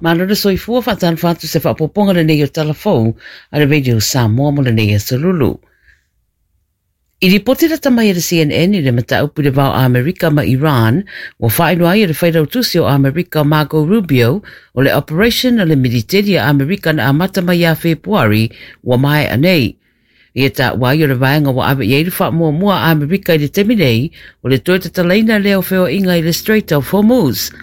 Malo le soifua faatalofa atu se faaopoopoga lenei o Tala Fou a le Radio Samoa mo lenei aso Lulu. I lipoti lata mai e le CNN i le mataupu i le va o Amerika ma Iran, ua faailoa ai e le Failautusi o Amerika o Marco Rubio o le operation a le militeli a Amerika na amata mai ia Fepuari ua maea nei. Ia taua ai o le vaega ua ave i ai le faamuamua a Amerika i le taimi nei, o le toe tatalaina lea o feoaiga i le Strait of Hormuz.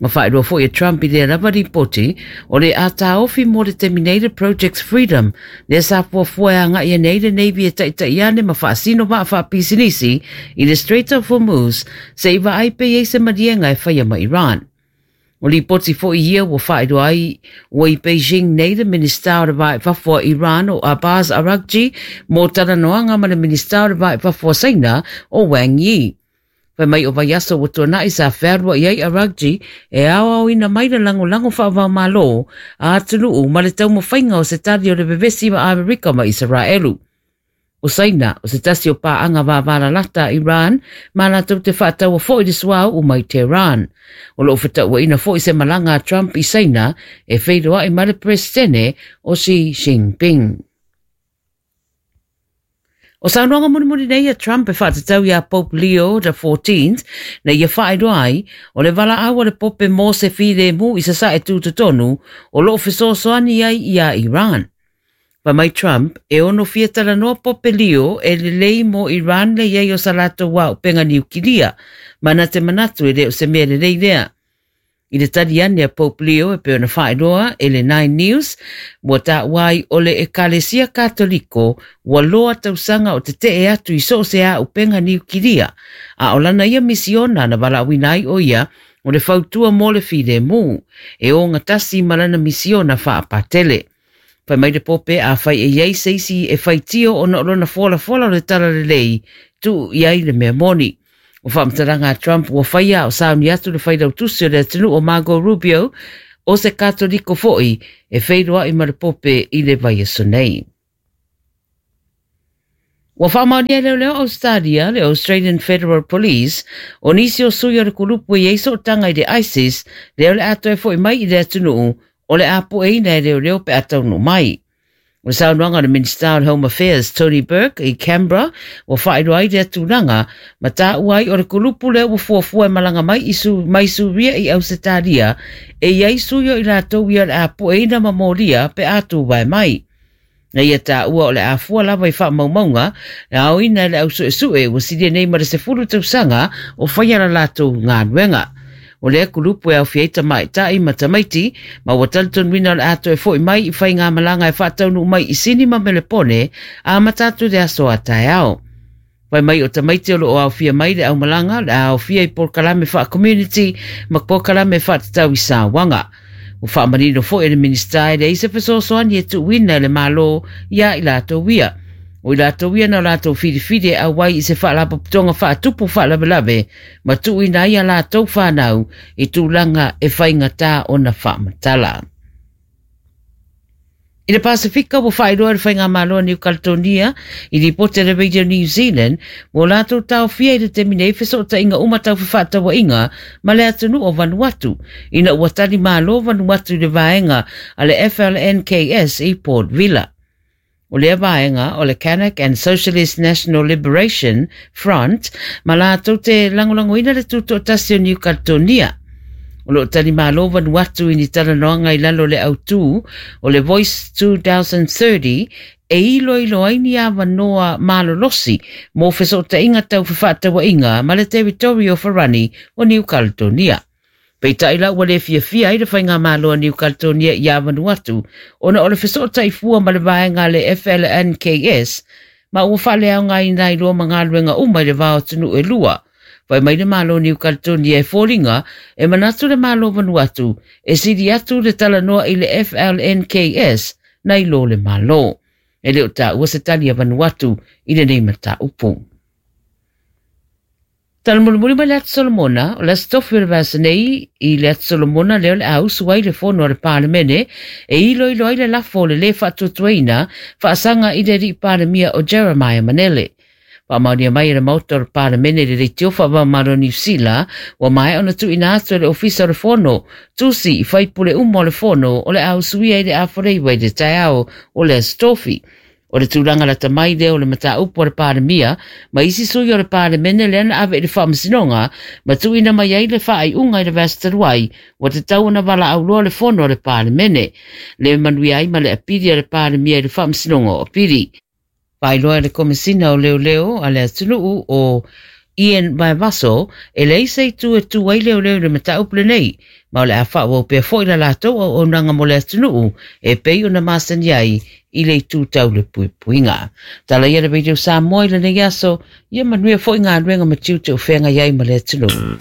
Na faailoa foi e Trump i lea lava lipoti, o le a taofi mo le taimi nei le Project Freedom, lea sa fuafua e agai ane ai le Navy e taitai ane ma faasino vaa faapisinisi i le Strait of Hormuz se i vaai pe i ai se maliega e faia ma Iran. O lipoti foi ia ua faailoa ai ua i Beijing nei le Minisita o le Va i Fafo a Iran o Abbas Araghchi mo talanoaga ma le Minisita o le Va i Fafo a Saina o Wang Yi. Fai mai o vaiaso ua tuanai sa fealuai ai Araghchi e aoaoina mai le lagolago faava-o-Malo a atunuu ma le taumafaiga o se tali o le vevesi ma Amerika ma Isaraelu. O Saina, o se tasi o paaga vavalalata a Iran ma latou te faataua foi le suauu mai Tehran. O lo o fetauaina foi se malaga a Trump i Saina e feiloai ma le Peresetene o Xi Jinping. O saunoaga mulimuli nei a Trump e faatatau iā Pope Leo XIV na ia faailoa ai, o le valaau a le Pope mo se filemu i sasae tutotonu o lo o fesoasoani ai iā Iran. Fai mai Trump, e ono fia talanoa Pope Leo e lelei mo Iran le i ai o sa latou auupega niukilia, ma na te manatu e le o se mea lelei lea. I le tali ane a Pope Leo e pei ona faailoa e le Nine News, ua taua ai o le Ekalesia Katoliko ua loa tausaga o tetee atu i so o se auupega niukilia, a o lana ia misiona na valaauina ai o ia o le fautua mo le filemu, e ogatasi ma lana misiona faapatele. Fai mai le Pope, afai e i ai se isi e faitio ona o lona folafola o le talalelei, tuu i ai le mea moni. O faamatalaga a Trump ua faia a o sauni atu le failautusi o le atunuu o Marco Rubio, o se Katoliko foi, e feiloai ma le Pope i le vaiaso nei. Ua faamaonia e leoleo Ausetalia, le Australian Federal Police, o nisi o sui o le kulupu e i ai sootaga i le ISIS, lea o le a toe foi mai i le atunuu, o le a pueina e leoleo pe a taunuu mai. O le saunoaga a le Minisita o le Home Affairs, Tony Burke, i Canberra, ua faailoa ai lea tulaga, ma taua ai o le kulupu lea ua fuafua e malaga mai i Su, mai Suria i Ausetalia, e i ai sui o i latou ia o le a pueina ma molia pe a tuvae mai. Na ia taua o le a fua lava i faamaumauga e aoina e le au suesue ua silia nei ma le 10 tausaga o faia la latou galuega. O lea kulupu e aofia ai tamaitai ma tamaiti, ma ua talitonuina o le a toe foi mai i faigamalaga e faataunuu mai i Sini ma Melepone amata atu i le aso a taeao. Fai mai o tamaiti o lo o aofia mai le aumalaga, le a aofia i polokalame faa-community ma polokalame faatatau i sauaga. Ua faamanino foi e le Minisita e leai se fesoasoani e tuuina e le Malo iā i latou ia. O i latou ia na latou filifili e auai i se faalapotopotoga faatupu faalavelave ma tuuina ai a latou whanau i tulaga e faigata ona faamatala. I le Pasifika ua faailoa e le Faigamalo a Niu Kaletonia i lipoti a le Radio New Zealand ua latou taofia i le taimi nei fesootaiga uma tau fefaatauaiga ma le atunuu o Vanuatu ina ua tali malo Vanuatu i le vaega a le FLNKS i Port Vila. O lea vaega o le Kanak and Socialist National Liberation Front ma latou te lagolagoina le tutoatasi o Niu Kaletonia. O lo o tali malo Vanuatu i ni talanoaga i lalo o le autū o le Voice 2030 e iloilo ai ni avanoa malolosi mo fesootaiga tau fefaatauaiga ma le Territory o Farani o Niu Kaletonia. Peitai la ua le fiafia ai le Faigamalo a Niu Kaletonia iā Vanuatu ona o le fesootai fua ma le vaega a le FLNKS ma ua faaleaogaina ai loa ma galuega uma i le va o atunuu e lua. Fai mai le Malo o Niu Kaletonia e foliga e manatu le Malo o Vanuatu e sili atu le talanoa i le FLNKS nai lo le Malo. E le o taua se tali a Vanuatu i lenei mataupu. Tala mulimuli mai le Atu Solomona, o le Aso Tofi o le vaiaso nei, i le Atu Solomona lea o le a usu ai le fono a le Palemene e iloilo ai le lafo o le lē faatuatuaina faasaga i le Alii Palemia o Jeremiah Manele. Faamaonia mai e le Maota o le Palemene le leitio faava-o-Malo o Niu Sila, ua maea ona tuuina atu e le Ofisa o le Fono tusi i faipule uma o le Fono o le a usuia i le 8:30 i le taeao o le Aso Tofi. O le tulaga lata mai lea o le mataupu a le Palemia ma isi sui o le Palemene lea na ave i le Faamasinoga ma tuuina mai ai le faaiuga i le vaiaso talu ai ua tatau ona valaau loa le Fono a le Palemene. Le manuia ai ma le apili a le Palemia i le Faamasinoga o Apili. Faailoa e le Komesina o Leoleo a le atunuu o Ian Vaevaso e leai se itu e tu ai leoleo i le mataupu lenei, ma o le a faaauau pea foi la latou auaunaga mo le atunuu e pei ona masani ai i le itu tau le puipuiga. Tala ia le Radio Samoa i lenei aso, ia manuia foi galuega ma tiute o feagai ai ma le atunuu.